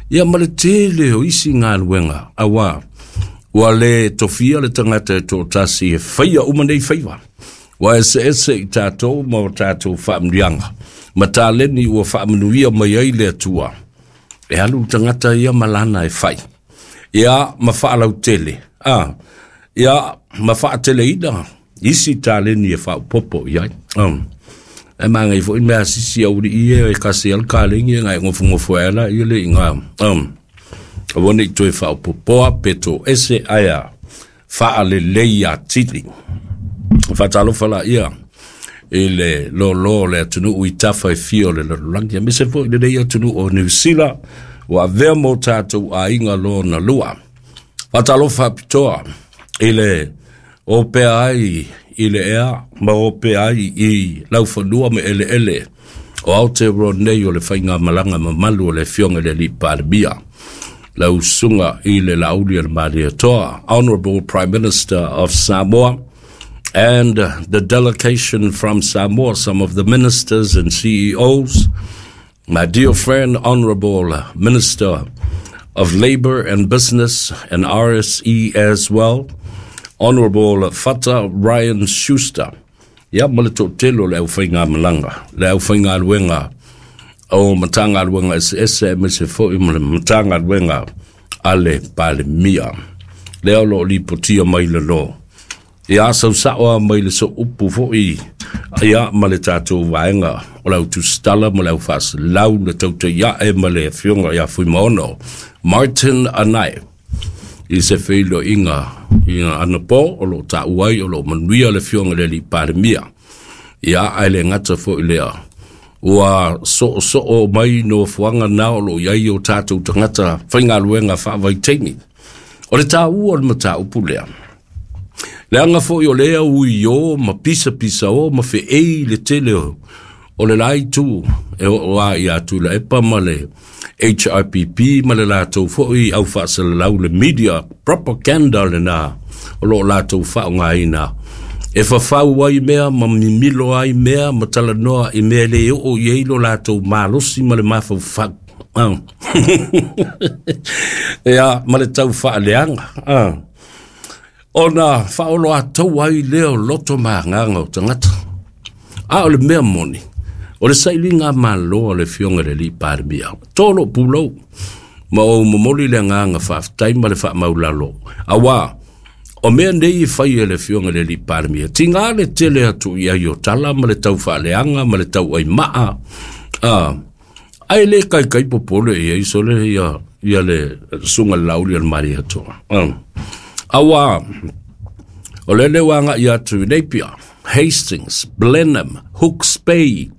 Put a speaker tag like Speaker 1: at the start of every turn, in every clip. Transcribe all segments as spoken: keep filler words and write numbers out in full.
Speaker 1: Ia ma le tele o isi galuega auā ua lē tofia le tagata e toʻatasi e faia uma nei faiva. Ua eseese i tatou ma o tatou faamanuiaga ma taleni ua faamanuia mai ai le Atua. E alu le tagata ia ma lana e fai. Ia ma faalautele, a, ia ma faateleina isi taleni e faaopopo i ai. Um. E magai foi mea sisi au li e kasi al kalegi ngai ngofungofo ala i le inga. Um. Aua nei toe faaopopoa pe toese aia faalelei atili. Faatalofa laia i le lōlō o le atunuu i tafa e fia o le lalolagi, aemaise foi lenei atunuu o Niu Sila ua avea mo tatou aiga lona lua. Faatalofa faapitoa i le opea ai i le ea ma opea ai i laufanua ma eleele o Aotearoa nei o le faigamalaga mamalu o le Afioga i le Alii Palemia, lau Susuga i le Laaulialemalietoa, Honorable Prime Minister of Samoa, and the delegation from Samoa, some of the ministers and C E Os, my dear friend, Honorable Minister of Labor and Business and R S E as well, Honorable Fata Ryan Schuster. Ia ma le toatele o le aufaigamalaga, le aufaigaluega o Matagaluega eseese aemaise foi ma le Matagaluega a le Palemia. Lea o loo lipotia mai lalo. Ia sausao mai le soupu foi ia ma le tatou vaega o le autusitala ma le aufaasalau le tautaiae ma le afioga ia Fuimaono Martin Anae i se feiloaiga i anapo o loo taua ai o loo manuia le afioga i le Alii Palemia. Ia ae le gata foi lea ua soosoo mai nofoaga na o loo i ai o tatou tagata faigaluega faavaitaimi. O le taua o le mataupu lea leaga foi o lea ui o ma pisapisa o ma feei le tele o o le la itu e oo a ia Tuilaepa ma le H R P P ma le latou foi au faasalalau le media propaganda lena o loo latou faaaogaina e fafau ai mea ma mimilo ai mea ma talanoa i mea le oo i ai lo latou malosi ma le mafaufau. Ah. Ia ma le tau faaleaga. Ah. Ona faaoloatou ai lea o loto ma agaga o tagata. A o le mea moni, o le sailiga malo a le Afioga i le Alii Palemia, tolo pulou, ma ou momoli le agaga faafetai ma le faamaulalo. Auā, o mea nei e fai e le Afioga i le Alii Palemia, tiga le tele atu i ai o tala ma le tau faaleaga ma le tau aimaa. Ah, ae le kaikai popole i ai sole ia, ia le Susuga le Laaulialemalietoa. Ah. Auā, o le lea ua agai atu i Napier, Hastings, Blenheim, Hawke's Bay.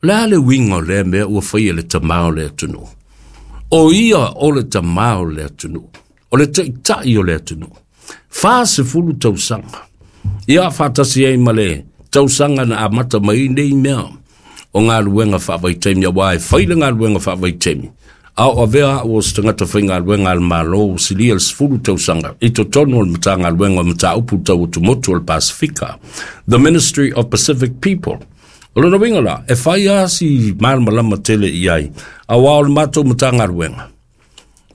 Speaker 1: O le a le uiga o lea mea ua faia e le tamā o le atunuu? O ia o le tamā o le atunuu. O le taitai o le atunuu. Fa sefulu tausaga. Ia faatasi ai ma le tausaga na amata mai nei mea o galuega faavaitaimi auā e fai le galuega faavaitaimi. A o avea au o se tagata faigaluega a le Malo ua silia le sefulu tausaga i totonu o le Matagaluega o Mataupu Tau Atumotu o le Pasifika, The Ministry of Pacific People. O lona uiga la, e fai lava si malamalama tele i ai, auā o le matou Matagaluega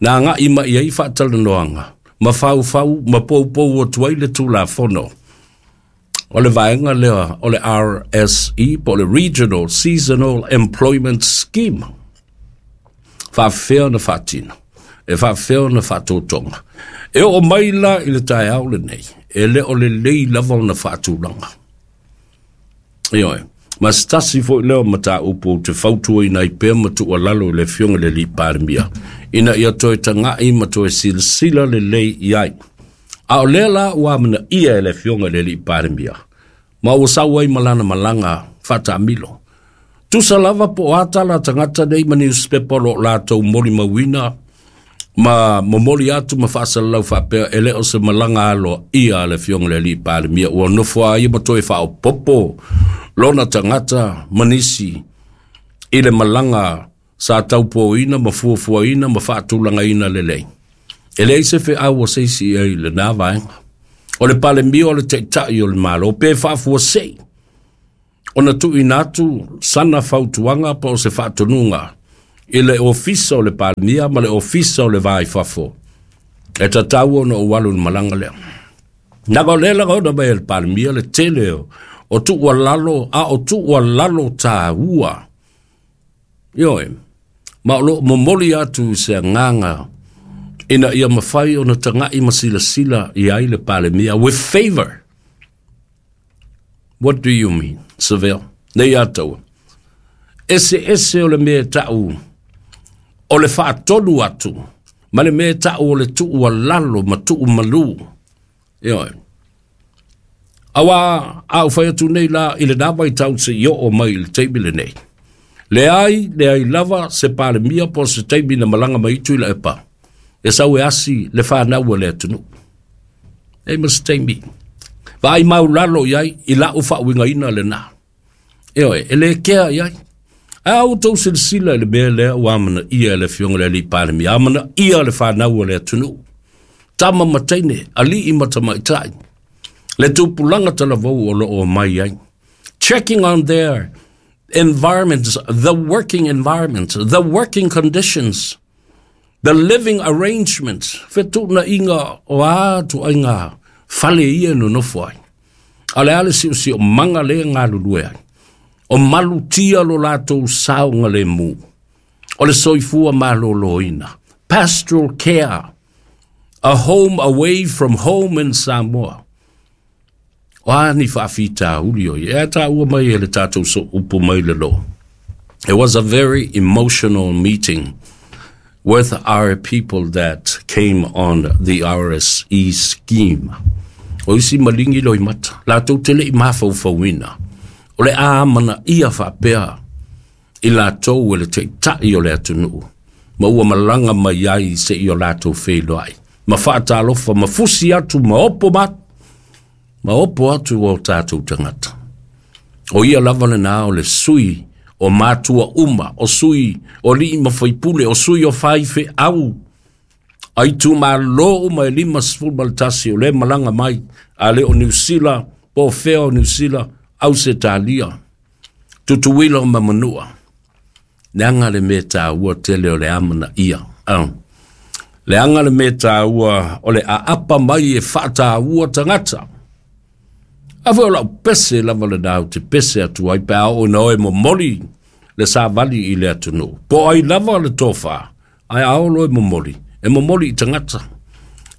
Speaker 1: na agai mai ai faatalanoaga ma faufau ma poupou atu ai le Tulafono o le vaega lea o le R S E po o le Regional Seasonal Employment Scheme. Faafefea ona faatino? E faafefea ona faatotoga? E oo mai la i le taeao lenei, e le o lelei lava ona faatulaga. Ioe, ma se tasi foi lea o mataupu ou te fautuaina ai pea ma tuualalo i le Afioga i le Alii Palemia, ina ia toe tagai ma toe silasila lelei i ai. A o lea la ua amanaia e le Afioga i le Alii Palemia, ma ua sau ai ma lana malaga faataamilo. Tusa lava po o a tala a tagata nei ma newspaper o loo latou molimauina ma momoli atu ma faasalalau faapea e le o se malaga aloaia a le Afioga i le Alii Palemia ua nofo a ia ma toe faaopopo lona tagata ma nisi i le malaga sa taupoina ma fuafuaina ma faatulagaina lelei. E leai se feau o se isi i ai i lena vaega. O le Palemia o le taitai o le Malo pe faafuasei ona tuuina atu sana fautuaga po o se faatonuga I le ofisa o le Palemia ma le ofisa o le Va i Fafo. E tatau ona ou alu i le malaga lea. Naga o lea lagaona mai e le Palemia le tele o, o tuualalo, a o tuualalo taua. Ioe, ma o loo momoli atu i se agaga ina ia mafai ona tagai ma silasila i ai le Palemia with favor. What do you mean, Seville? Nei ataua. Ese ese o le mea tau o le faatonu atu ma le mea tau o le tuualalo ma tuumalu. Ioe. Auā a ou fai atu nei la i lenā vaitau seia oo mai i le taimi lenei. Leai, leai lava se Palemia po o se taimi na malaga mai i Tuilaepa e sau e asi le fanau a le atunuu. Leai ma se taimi. Vaai maulalo i ai i la'u faauigaina lenā. Ioe, e le kea i ai. A outou silasila i le mea lea ua amanaia e le Afioga i le Alii Palemia, amanaia le fanau a le atunuu, tama ma teine, alii ma tamaitai, le tupulaga talavou o lo o omai ai. Checking on their environments, the working environment, the working conditions, the living arrangements, fetuunaiga o a ituaiga fale ia e nonofo ai. A o le a le siosiomaga lea e galulue ai? O malutia lo latou saogalemu. O le soifua malōlōina. Pastoral care. A home away from home in Samoa. O a ni faafitauli o ia? E taua mai e le tatou sooupu mai le lo. It was a very emotional meeting with our people that came on the R S E scheme. O isi malingi loimata, latou te le i mafaufauina. O le a amanaia faapea i latou e le taitai o le atunuu, ma ua malaga mai ai seia o latou feiloai, ma faatalofa, ma fusi atu, ma opo ma, ma opo atu o tatou tagata. O ia lava lenā o le sui o matua uma, o sui o alii ma faipule, o sui o faifeau, a itumalo uma e limasefulu ma le tasi o lea malaga mai, a le o Niu Sila, po o fea o Niu Sila, Ausetalia, Tutuila ma Manua. Leaga le mea taua tele o le amanaia. Ah. Leaga le mea taua o le aapa mai e faataua tagata. A foi o lau pese lava lenā ou te pese atu ai pe a oo ina oe momoli le savali i le atunuu. Po o ai lava le tofa, ae a oo loa e momoli, e momoli i tagata.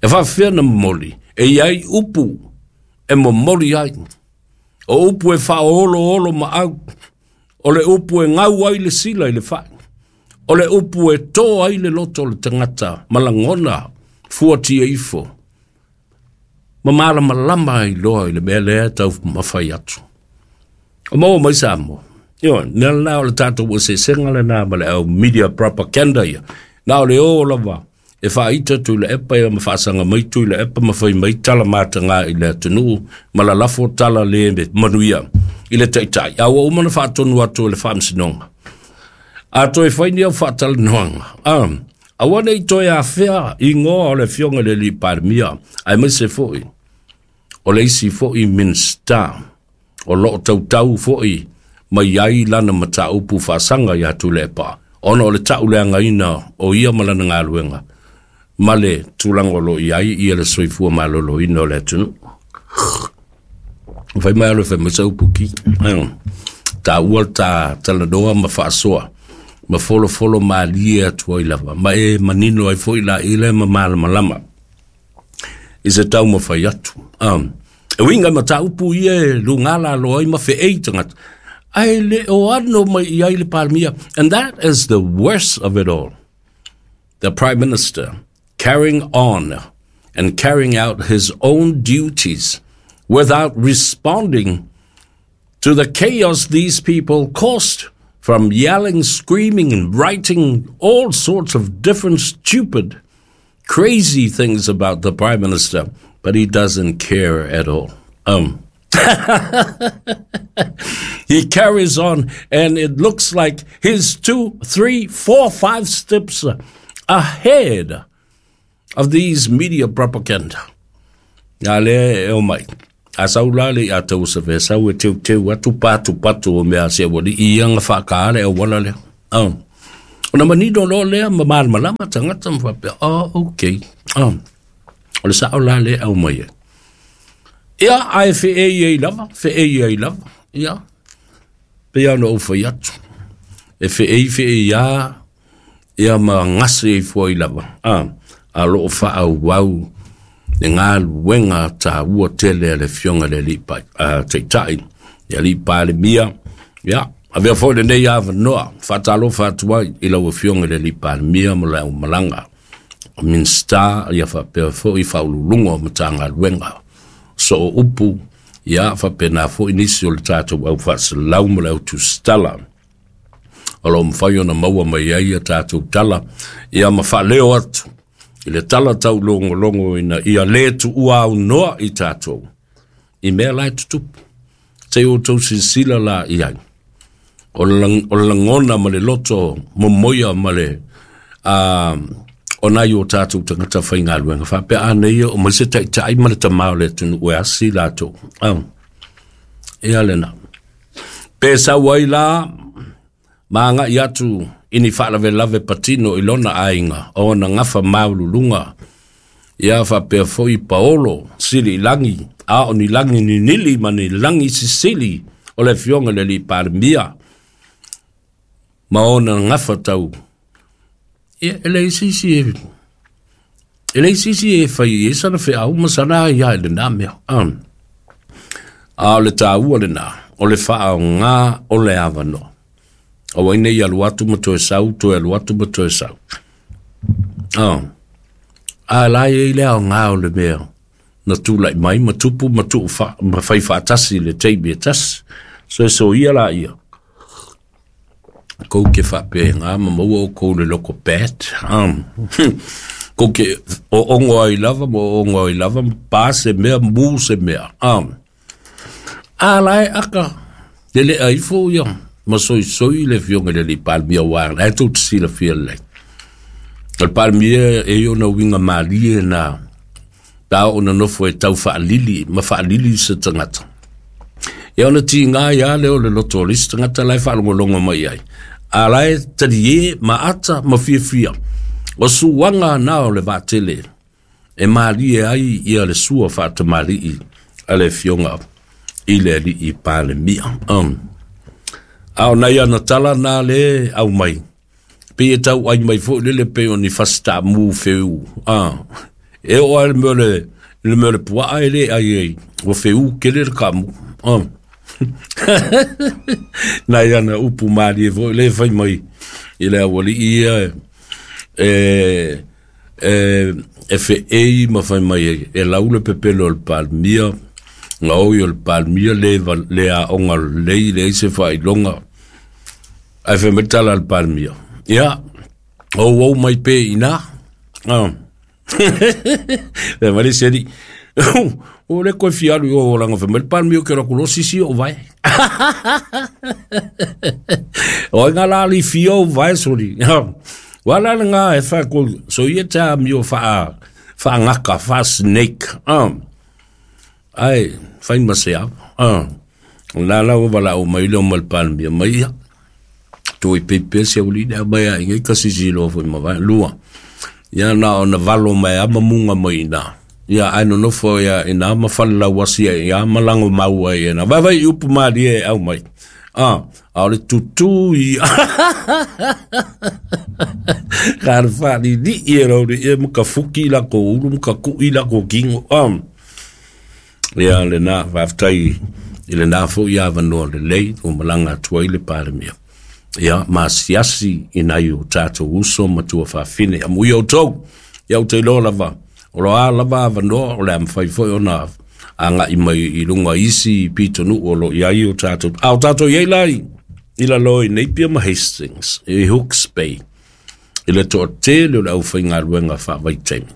Speaker 1: E faafefea na momoli, e i ai upu e momoli ai. O upu e faaoloolo maau, o le upu e gau ai le sila i le fai, o le upu e tō ai le loto o le tagata ma lagona fuatia ifo, ma malamalama ai loa i le mea lea e taumafai atu. O maua mai Samoa. Ioe, mea lenā o le tatou eseesega lenā ma le au media propaganda ia. Na o le o lava e faaita Tuilaepa ia ma faasaga mai Tuilaepa ma fai mai tala matagā i le atunuu ma lalafo tala le manuia i le taitai. A ua uma ona faatonu atu e le Faamasinoga. A toe fai ni au faatalanoaga, a, aua ne i toe afea igoa o le Afioga i le Alii Palemia, aemaise foi o le isi foi Minisita o loo tautau foi mai ai lana mataupu faasaga ia Tuilaepa, ona o le tauleagaina o ia ma lana galuega ma le tulaga o loo i ai ia le soifua malōlōina o le atunuu. Fai mai alo e fai mai sa upu ki. Taua le ta talanoa ma faasoa ma folofolo malie atu ai lava, ma e manino ai foi la i le ma malamalama i se taumafai atu. Um, e uiga i mataupu ia e lugā laloa ai ma feei tagata, ae le o ano mai i ai le Palemia. And that is the worst of it all. The Prime Minister carrying on and carrying out his own duties without responding to the chaos these people caused from yelling, screaming, and writing all sorts of different stupid, crazy things about the Prime Minister, but he doesn't care at all. Um, he carries on, and it looks like he's two, three, four, five steps ahead of these media propaganda. A lea e omai. A sau la le ia tau sa fe sau e teuteu atu patupatu o mea a si aualii ia ga faakaale auala lea. Oh. Ona manino loa lea ma malamalama tagata ma faapea, oh, okay. Oh, o le sao la lea au mai ai. Ia, ae feei ai lava, feei ai lava. Ia, pei ona ou fai atu. E feei feei a, ia ma gase ai foi lava. Ah, a loo faaauau le galuega taua tele a le Afioga i le Alii Taitai, le Alii Palemia. Ia, avea foi lenei avanoa faatalofa atu ai i lau Afioga i le Alii Palemia ma le aumalaga o Minisita, ia faapea foi faauluuluga o Matagaluega soo upu, ia faapena foi nisi o le tatou au faasalau ma le au tusitala o lo o mafai ona maua mai ai a tatou tala, ia ma faaleo atu i le tala taulogologo ina ia lē tuua aunoa i tatou i mea la e tutupu. Se i outou silasila la i ai, o le lagona ma le loto momoia ma le o nai o tatou tagata faigaluega faapea a nei o mai se taitai ma le tamā o le atunuu e asi latou. Ia lena. Pe sau ai la ma agai atu i ni faalavelave patino i lona aiga o ona gafa maululuga, ia faapea foi paolo sili i lagi, a o ni lagi ninili ma ni lagi sisili o le Afioga i le Alii Palemia ma ona gafa tau. Ia, e leai se isi e e leai se isi e fai ai sana feau ma sana aia i lenā mea. A o le taua lenā, o le faaogā o le avanoa. Aua nei alu atu ma toe sau, toe alu atu ma toe sau. A la e i ai le aoga o le mea na tulai mai ma tupu ma tuu fa, ma fai faatasi i le taimi e tasi. So e soia laia, kou ke faapea ma maua oukou le loko bad. Um, kou ke o ongo ai lava ma o ongo ai lava, ma pa se mea, mu se mea. Um, a la e aka, le le aifo ia, ma soisoi le Afioga i le Alii Palemia ua la e tou te silafia lelei. O le Palemia e i ona uiga malie na pe a oo ona nofo e tau faalili ma faalili se tagata. Ia ona tiga ai lava lea o le loto o le isi tagata la e faalogologo mai ai. A la e talie ma ata ma fiafia. O suaga na o le vaatele e malie ai ia le sua faatamalii a le Afioga i le Alii Palemia. Um. A o nai ana tala na le au mai. Pei e tau ai mai foi lele pei o ni fasitaamu feu. Ah. E oo lava i le mea o le, le mea o le puaa e le ai ai. Ua feu tele le kaamu. Ah. Nai ana upu malie foi le fai mai i le aualii ia e, e, e feei ma fai mai ai e lau le pepelo o le Palemia, gaoi o le Palemia le, le aoga lelei, leai se faailoga. Ae fai mai le tala a le Palemia, ia, ou ou mai pe i ina. Ah. Fai mai le isi alii, o le koe fia alu i o leaga fai mai le Palemia o ke alu atu loa sisi ou vae. O ai ngā la ali fia ou vae soli. Ua la le ngā e wha ko, so ia tā mio wha, wha ngaka, wha snake. Ah. Ai, whai ma se ava. Ah. La la ua wala o mai leo ma le Palemia mai ia. Toi pepe se uli lea mai a ingai ka sisi loa foi ma vae. Lua. Ia na ona valo mai a ma munga mai ina. Ia ae nonofo ia ina ma fale lauasi ai ia ma lago mau ai ina. Vaivai i upu malie e au mai. Ah, a o le tutū i ka le faalili'i e lau le ia ma ka fuki i lakou ulu ma ka ku'i i lakou kigo. Ah. Ia lenā faafetai i lenā foi avanoa lelei ua malaga atu ai le Palemia. Ia masiasi i nai o tatou uso ma tuafafine. Amuia outou, ia ou te iloa lava, o lo a lava avanoa o le a mafai foi ona aga'i mai i luga isi pitonuu o lo o i ai o tatou. A o tatou i ai la i lalo i Napier ma Hastings, i Hawke's Bay, i le toatele o le aufaigaluega faavaitaimi.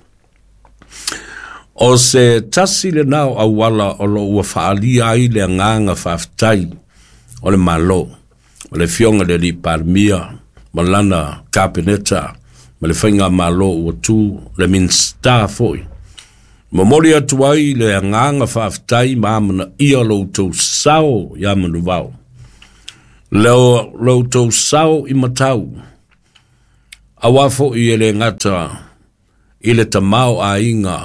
Speaker 1: O se tasi lenā o auala o lo o ua faaalia ai le agaga faafetai o le Malo, o le Afioga i le Alii Palemia ma lana Kapeneta ma le faigamalo ua tu le Minisita foi. Momoli atu ai le agaga faafetai ma amanaia lo outou sao iā Manuvao. Lo, lo outou sao i matau. Auā foʻi e lē gata i le tamaoaiga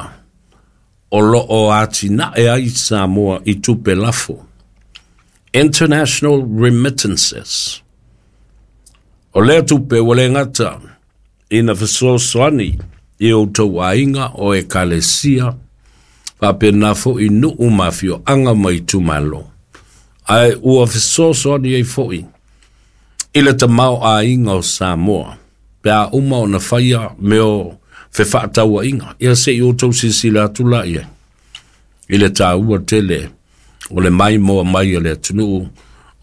Speaker 1: o loo atinae ai Samoa i tupe lafo, international remittances. O lea tupe ua lē gata ina fesoasoani i outou aiga o ekalesia faapena foʻi nuu ma afioaga ma itumālō, ae ua fesoasoani ai foʻi i le tamaoaiga o Samoa pe a uma ona faia mea o fefaatauaiga. Ia seʻi outou silasila atu laia i le tāua tele o le maimoa mai a le atunuu.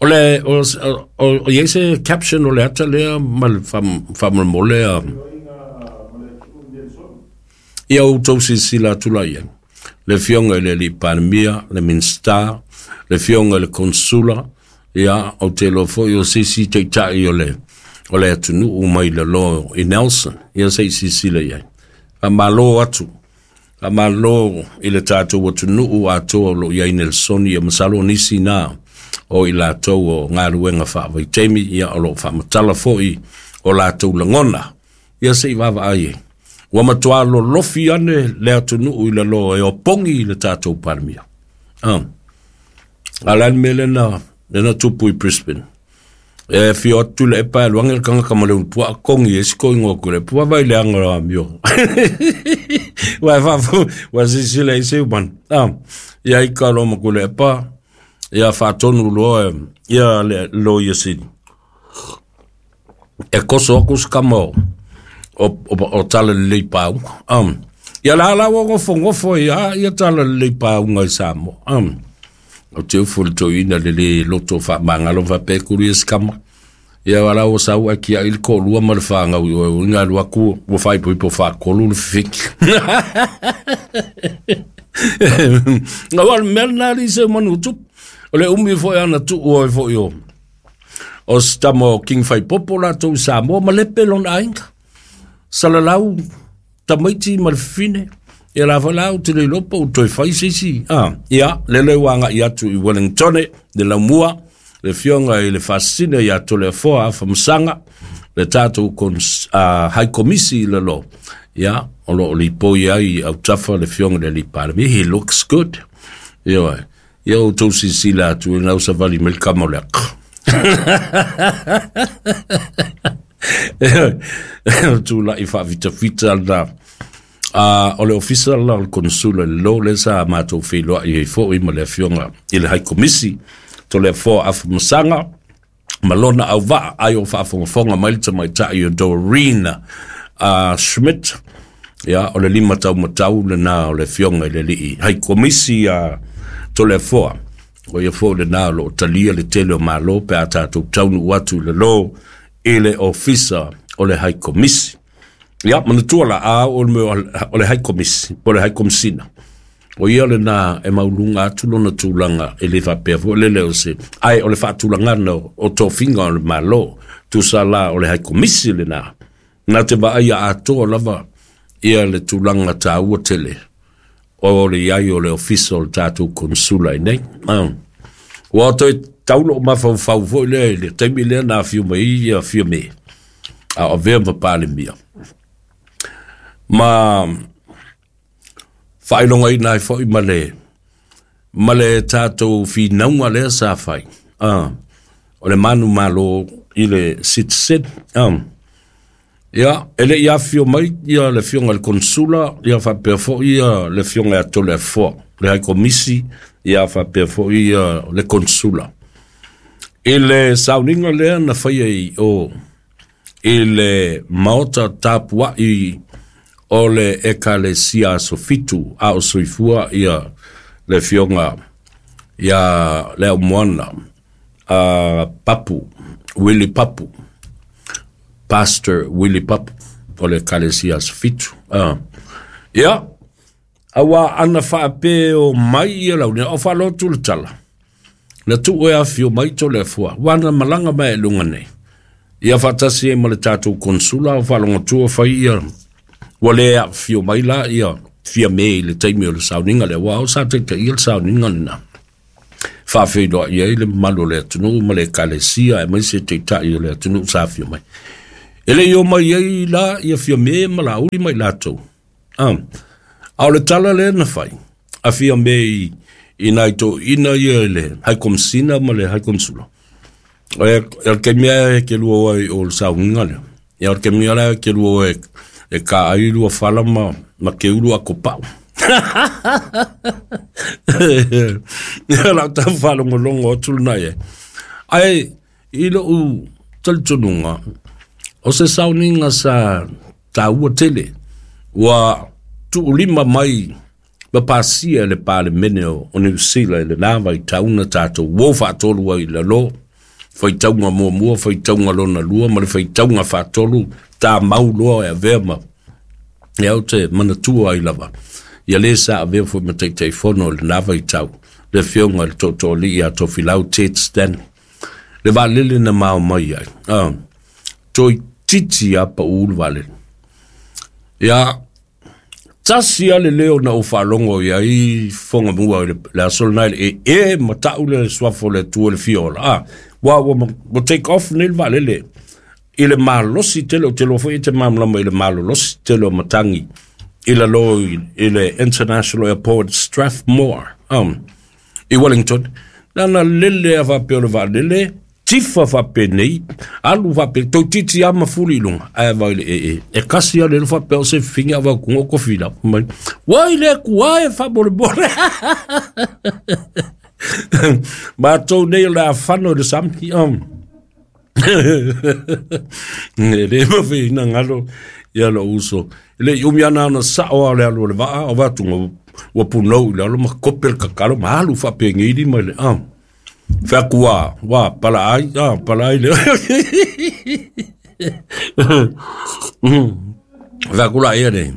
Speaker 1: O le o, o, o iai se caption o le ata lea ma le faamolemole a ia outou silasila atu laia le afioga i le alii Palemia, le Minisita, le afioga i le Konsula, ia ou te iloa foi o se isi taitai o le o le atunuu mai lalo i Nelson. Ia seʻi silasila i ai. Faamālō atu, faamālō i le tatou atunuu atoa o loo i ai Nelsoni. Ia masalo o nisi na o i latou o galuega faavaitaimi, ia o loo faamatala foʻi o latou lagona. Ia seʻi vaavaai ai. Ua matuā lolofi ane le atunuu i lalo e opogi i le tatou Palemia. Ah. A le a le mea lena lena tupu i Brisbane? E fio atu le epa e luangi le kangaka ma le ulupuaa kongi e siko ingo ku le pua vai le anga o amio. Wa fa wa sisi le isi man. Ah. Ia i ka lo ma ku le epa ia faatonu loa ia le lo ia sini. E koso aku skama o o, o, o tala lelei pauga. Um. Ia la la ua gofogofo ia ia tala lelei pauga i Samoa. Um. O te ufu le toeaina le lē loto faamagalo faapea kuli e sikama. Ia wala o sau a kia il ko lua ma le whangau i oe inga lua ku ua whaipoipo whakolu le fifiki. Nga wale mea nā li se manu tupu. O le umi foi ana tuu oi foi o. O se tama o King Faipopo latou i Samoa ma lepe lona aiga. Salalau tamaiti ma le fafine. Ia la foi la ou te le iloa po o toe fai se isi. Ah, ia, lele ua agai atu i Wellington le laumua, le afioga i le Faasisina ia Toleafoa Afamasaga, le tatou cons, uh, High Komisi i lalo. Ia, o loo lipoi ai autafa le afioga i le alii Palemia. He looks good. Ia, ia outou silasila atu i lau savali mai le kama o le aka. Tula'i faafitafita lena uh, o le ofisa la o le konsula le lo le sa matou feiloai ai foʻi ma le afioga i le High Komisi Toleafoa Afamasaga ma lona auvaa ai o faafogafoga mai le tamaitai o Doreen uh, Schmidt. Ia o le lima taumatau lena o le afioga i le alii High Komisi a uh, Toleafoa. O ia foʻi lenā o loo talia le tele o mālō pe a tatou taunuu atu i le lo i le ofisa o le High Komisi. Ia manatua la a o le mea o le High Komisi po o le High Komisina. O ia lena e mauluga atu lona tulaga e lē faapea foʻi lele o se ae o le faatulagana o tofiga o le mālō tusa la o le High Komisi lenā na te vaaia atoa lava ia le tulaga tāua tele o le iai o le ofisa o le tatou konsula i nei. Ah. Ua toe taulo o mafaufau foʻi lea i le taimi lea na afio mai ia afio me a o avea ma Palemia. Ma faailogaina ai foʻi ma le ma le tatou finauga lea sa fai. Ah. O le manu malo i le citizen. Ah. Ia, e le i afio mai ia le afioga i le konsula, ia faapea foʻi ia le afioga ia Toleafoa, le High Komisi, ia faapea foʻi ia le konsula. I le sauniga lea na faia i o i le maota tapuaʻi o le ekalesia aso fitu a o soifua ia le afioga ia le aumoana a Papu, Willie Papu, Pastor Willie Papu o le ekalesia aso fitu. Ah. Ia, auā ana faapea o mai ia launi, o faalotu le tala. Na tuu e afio mai Toleafoa, ua na malaga mai e luga nei. Ia faatasi ai ma le tatou konsula o faalogotua fai ia ua lē aafio mai la ia fia me i le taimi o le sauniga lea ua o sa taitaia le sauniga lenā. Faafeiloai ai le mamalu o le atunuu ma le ekalesia e mai se taitai o le atunuu sa afio mai. E le i omai ai la ia Fiame ma Laauli ma i latou. A o le tala lea na fai a Fiame i, i nai toeaiina ia i le High Commissioner ma le High Consula. E le taimi e ke lua ai o le sauniga lea. Ia o le taimi la e ke lua e e ka ai lua fala ma, ma ke ulu a kopau. Ia lau tau whalongolongo o tulu nai e. Ai, i lou talitonuga, o se sauniga sa taua tele, ua tuulima mai ma pasia e le Palemene o, o Niu Sila i lena vaitau na tatou uo faatolu ai i lalo, faitauga muamua, faitauga lona lua, ma le faitauga faatolu, tā mau loa e avea ma, ia ou te manatua ai lava. Ia le sa avea foi ma Taitaifono i lena vaitau, le afioga i le Tootooalii ia Tofilau Ted Stanley. Le vaalele na mao mai ai. Ah, toeitiiti a pau le vaalele. Ia, tasi a le leo na ou faalogo i ai fogamua i le, le aso lena i le e e matau le suafa o le Atua i le fia ola. Ah, ua, ua, ua take off nei le vaalele i le malosi tele, o te iloa foi e te malamalama i le malolosi tele o matagi i lalo i, i le International Airport Strathmore um, i Wellington. Nana lele a faapea o le vaalele, tifa faapenei, alu faape, toeitiiti a mafuli i luga, ae vaai le e e. E kasi a le faapea o se figa va kunga o kofi la. Mai, wai le kua e faamolemole. Matou nei o le afano i le sami. Um. E le mafai na galo ia lou uso. E le i umi ana ona sao a o le alu o le vaa, o vatuga ua punou i lalo ma kope le kakalo ma alu faapegei lima i le ah. Fai atu ua, ua pala ai, ah, pala ai le. Fai atu la ia le.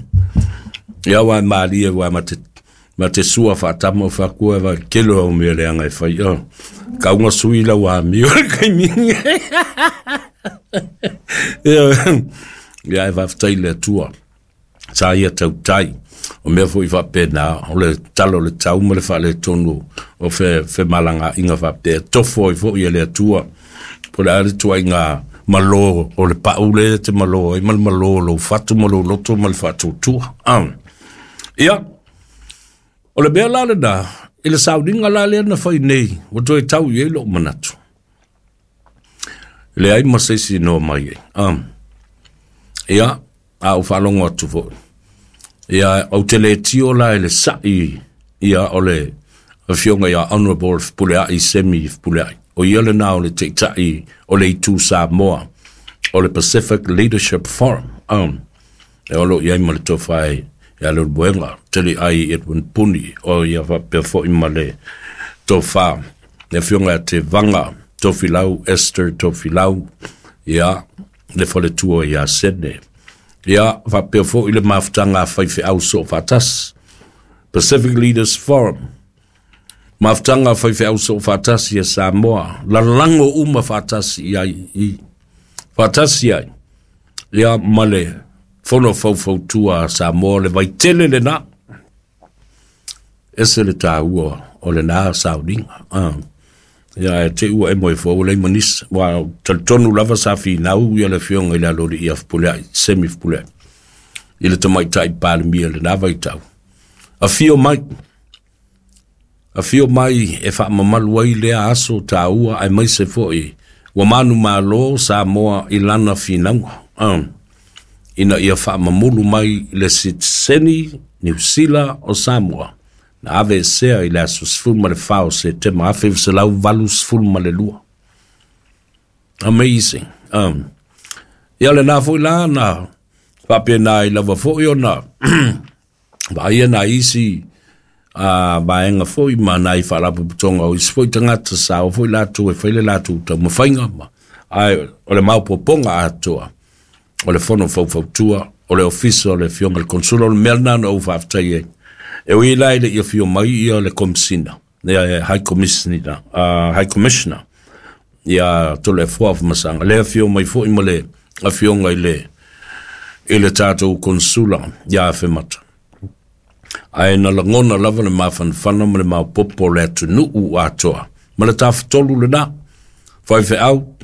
Speaker 1: Ia ua e malie ua ma te ma te sua faatama o fai atu e vai kelo au mea leaga e fai. Ah. Kauga sui lau amio le taimi. Ia, ia e faafetai i le Atua. Sa ia tautai. O mea foi faapena, o le tala o le tau ma le faaletonu o fe, femalagaaiga faapea. Tofo ai foi e le Atua. Po le a le tuaiga malo o le pau le te malo ai ma le malo o lou fatu ma lou loto ma le faatuatua. Ah. Ia, o le mea la lena, i le sauniga la lea na fai nei, ua toe tau i ai lou manatu. Leai ma se isi noa mai ai. Ah. Ia, a ou faalogo atu foi. Ia, ou te le tio la i le sa'i, ia, o le afioga ia Honorable Fepuleai Semi Fepuleai. O ia lena o le taitai o le itu Samoa, o le Pacific Leadership Forum. Um, e o lo i ai ma le tofa e ia Leulumoega, tele ai Edwin Puni, o ia faapea foi ma le tofa, le afioga ia Tevaga, Tofilau, Esther Tofilau, ia, le faletua ia Sene. Ia, faapea foi le mafutaga a faifeau soofaatasi. Pacific Leaders Forum. Mafutaga a faifeau soofaatasi ia Samoa. Lalago uma faatasi i ai i. Faatasi ai. Ia ma le fono faufautua a Samoa le vaitele lena. Ese le tāua o lena sauniga. Ah. Ia e te ua e moe fua lei manisa. Ua talitonu lava sa finau ia le afioga i le aloalii ia Fepuleai, Semi Fepuleai. I le tamaitai Palemia lena vaitau. Afio mai. Afio mai e faamamalu ai lea aso tāua aemaise foi ua manumalo Samoa i lana finauga. Ah. Ina ia faamamulu mai le sitiseni Niu Sila o Samoa. Na aveesea i le aso sefulu ma le fa o Setema afe iva selau valu sefulu ma le lua. Amazing. Um, ia lena foi la na faapena ai lava foi ona vaaia nai isi a vaega foi ma nai faalapotopotoga o isi foi tagata sa o foi latou e fai le latou taumafaiga ma ae o le maopoopoga atoa o le fono faufautua o le ofisa o le afioga i le Consula o le mea lena na ou faafetai ai. E ui la i le i afio mai ia le Komisina, ia High Commissioner, uh, High Commissioner, ia Toleafoa Afamasaga. Le afio mai foi ma le afioga i le i le tatou Consula ia Afemata. Ae na lagona lava le mafanafana ma le maopoopo o le atunuu atoa. Ma le tafatolu lena, faifeau,